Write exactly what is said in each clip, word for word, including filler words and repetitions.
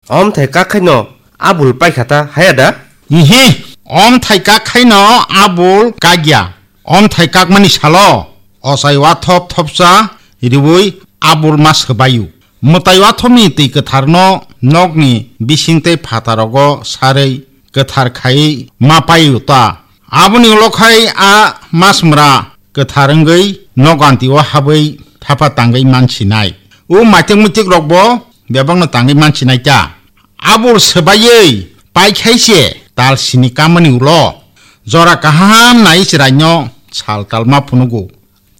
Om thai kak khaino abul paikha ta haya da? Ihi, om thai kak khaino abul kagya. Om thai kakmani salo ochai wathop thopsa riwi abul ma swbayu. Mwtai wathopni twi kwtharno nokni bising tei phatarogo sarwi kwthar khaiwi ma payu ta. Aboni ulo khai a masmwra kwthar wngwi noganti o habwi thapa tangwi mansinai. O maitik muitik rokbo bebakno tangwi mansinai ta. Abul swbaiwi paikhai se tal sini kamani ulo jora kaham nai chwraino sal tal ma phunugo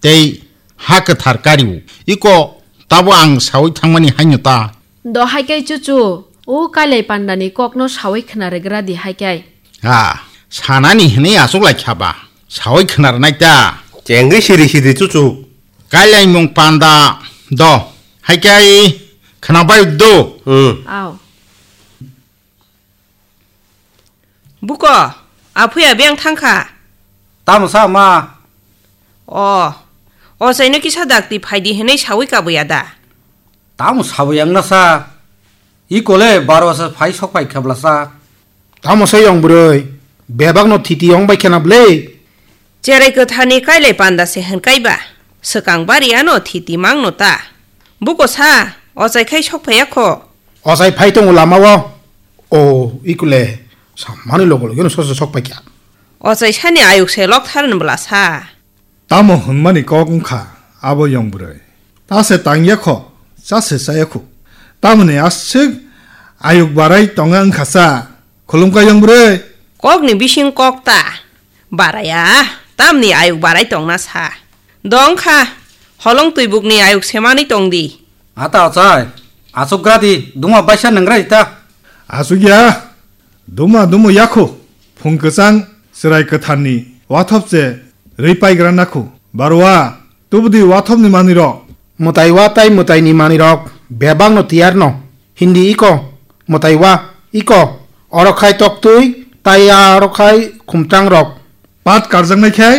tei ha kwthar kario. Iko tabo ang sawi thangmani haino ta. Do haikai chuchu, o kailai pandani kokno sawi khna rwgra di haikai. Ha, sanani hwnwi aswk lai kha ba, sawi khna rwnai ta. Chengwi siri siri chuchu. Kailai mung panda do, haikai khna bai do. Hmm. Ao. Buko, aphuya beng thangkha. Tamo sa ma? O, o chaino kisa dakti phaidi hwnwi sawi kabuya da? Tamo sawi ang na sa? Iko le baro sa phai sok phai khabla sa. Tamo sa yong bwrwi, bebak no thiti yong bai khena bwle. Cherai kwthani kailai panda se hwn kaiba, swkang bari ano thiti mangno ta. Buko sa, ochai khai sok phaiya kho. Ochai phai tongo lama o. O, ikule, sammani logo logo no soso sok paikha. Ochai sani ayuk se lok tharni bwla sa. Tamo hwnmani kok wngkha abo yong bwrwi. Ta se tangya kho, cha se chaya kho. Tamoni aswk ayuk barai tonga wngkha sa. Khulumkha yong bwrwi. Kokni bising kok ta. Baraya, tamni ayuk barai tongna sa. Dong kha, holong twibukni ayuk semani tong di. Ata ochai, achuk gra di, duma baisa nang gra di ta. Achuk ya, duma dumu yakhu, phung kwchang, chwrai kwtharni wathop che rwi paigra nakhu. Barwa, tubudi wathopni manwi rok. Mwtai wa tai mwtaini manwi rok, bebak no tiyar no. Hindi iko, mwtai wa, iko, oro khai toktwi, tai aro khai khumtrang rok. Pat karjaknai khe?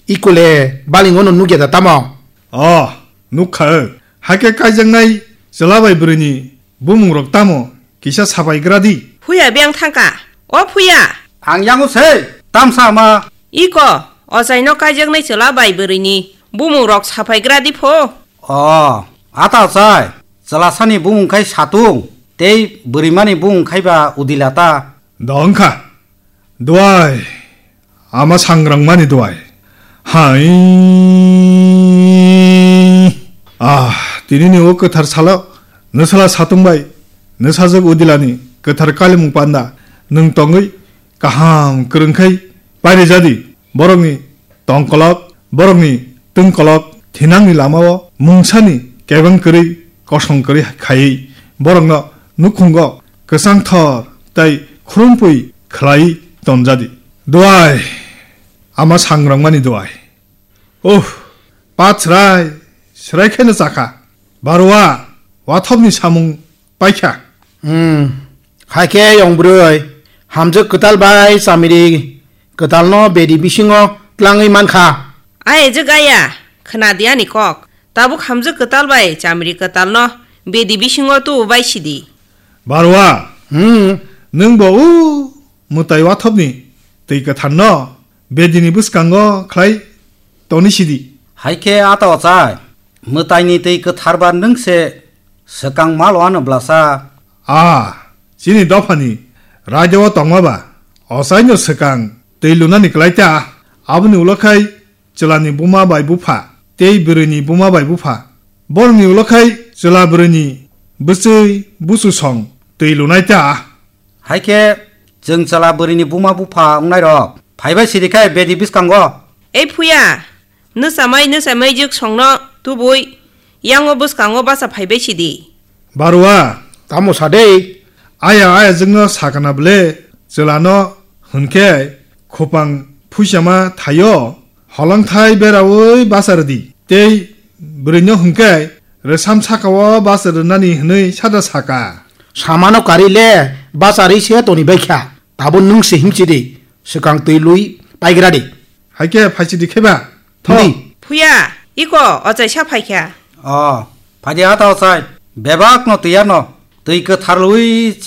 Ikule, balingo no nukya da tamo? Oh, nukha. Hakhe kaijaknai chwla bai bwrwini bumung rok tamo? Kisa sapai gra di. Phuya beng thangka. O phuya. Ang yango se, tamsa ma. Iko, ochaino kaijaknai chwla bai bwrwini bumung rok sapai gra di pho. Oh, ata ochai. Chwlasani bumung khai satung, tei bwrwimani bumung khai ba udila ta. Dong kha. Duai. Ama sangrangmani duai. Hai. Ah, tinini o kwthar salo nwsala satung bai nwsajwk udilani kwthar kalimung panda nwng tongwi kaham kwrwngkhai pairi jadi borokni tongkolok, borokni twngkolok thinangni lamao mungsani kebeng kwrwi kosong kwrwi khaiwi borokno nukhungo kwchangthor tei khrumpui khlaiwi tonjadi. Duai, ama sangrangmani duai. Uh, pat srai, srai kheno chakha. Barwa, wathopni samung paikha. Hmm, haikhe yong bwrwi, hamjwk kwtal bai chamiri kwtalno bedi bisingo tlangwi mankha. Ai ejwk aya, khna di ani kok. Tabuk hamjwk kwtal bai chamiri kwtalno bedi bisingo tubu bai sidi. Barwa, hmm, nwng bo u mwtai wathopni twi kwtharno bedini bwskango khlai toni sidi. Haikhe ata ochai, mwtaini twi kwtharba nwng se swkang malo ano bwlasa. A, chini dophani raida o tongma ba ochaino swkang twi lunani kwlai ta, aboni ulo khai chwlani buma bai bupha tei bwrwini buma bai bupha. Borokni ulo khai chwla bwrwini bwchwi buchusong twi lunai ta. Haikhe chwng chwla bwrwini buma bupha wngnairok phaibai sidi khe bedi bwskango. Ei phuya, nwchamai nwchamai jwk songno tubui yango bwskango bacha phaibai sidi. Barwa, tamo sadei? Aya aya jwkno sakana bwle chwlano hwnkhe khupang phuisama thaio holongthai beraui bacha rwdi tei bwrwino hwnkhe rwsam sakao bacha rwnani hwnwi sada saka. Samano kari le bacha rwi se toni baikha, tabo nwng se himchidi swkang twi lui paigradi. Haikhe phaisidi kheba. Tho. Di. Phuya, iko ochaisa phaikha. O, phaidi ata ochai. Bebakno twi ano. Twi kwthar lui